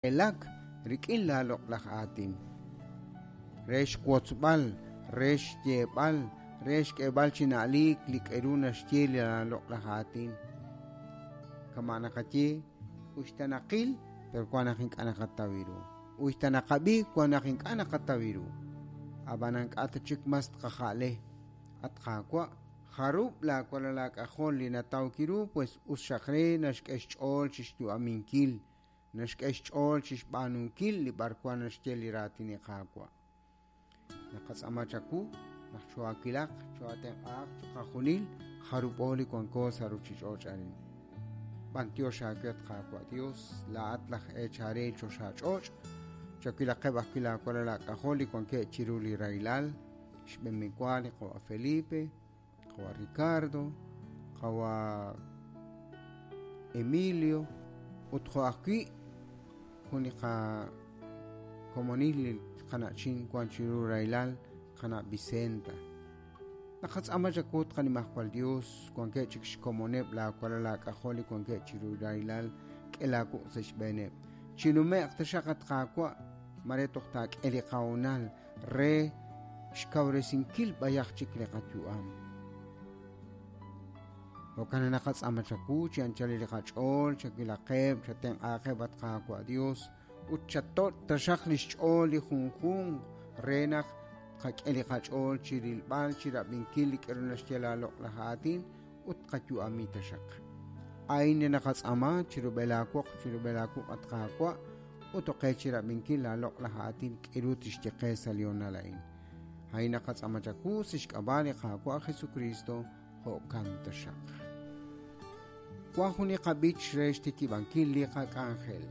Elak rik'in laaloq'laj aatin. Re xwotzb'al, re xyeeb'al, re xk'eeb'al chi na'liik li k'eru naxye li laaloq'laj aatin. Kama' naqaye, uxta naqil, pero wan naq ink'a' naqataw ru. Uxta naqab'i, wan naq ink'a' naqataw ru. Ab'anan k'a' ta chik mas tqaja'le. At Qaawa', jarub' laawalal aak'ajol li nataw kiru, pues us xaq re naxk'e xch'ool chi xyu'aminkil, naxk'e xch'ool chi xb'aanunkil li b'arwan naxye li raatin li Qaawa'. Naqatz'aama chawu naq choohaawilaq, choohaatenq'ahaq chiqajunil jarub'o li wanko sa' ruuchich'och' arin. B'anyox aawe at Qaawa' Dios, laa'at laj eechal re choxach'och', chawilaqeb' ajwi' laawalal aak'ajol li wankeb' chiru li rahilal, xb'enwa li qawa' Felipe, qawa' Ricardo, qawa' Emilio, ut jo' ajwi' jun li qakomonil li qana'chin wan chiru rahilal, qana' Vicenta. Naqatz'aama chawu tqanimajwal Dios, wankeb' chik xkomoneb' laawalal aak'ajol li wankeb' chiru rahilal, k'e laawuq' sa' xb'eeneb'. Chinume'q taxaq at Qaawa', mare toj taak'e li qahoonal re xkawresinkil b'ayaq chik li qayu'am. Jo'kan naq naqatz'aama chawu chi anchal li qach'ool, chawilaqeb', chatenq'aaqeb' at Qaawa' Dios, ut chato' taxaq li xch'ool li junjunq re naq tqak'e li qach'ool chi rilb'al, chi rab'inkil li k'aru naxye laaloq'laj aatin ut tqayu'ami taxaq. A'in li naqatz'aama chirub'el aawoq, chirub'el aawuq' at Qaawa', ut oqe chi rab'inkil laaloq'laj aatin k'aru tixye qe sa' li honal a'in. A'in naqatz'aama chawu sa' xk'ab'a' li Qaawa' Jesucristo, jo'kan taxaq. Wan jun li qab'ich re xtikib'ankil li qak'anjel.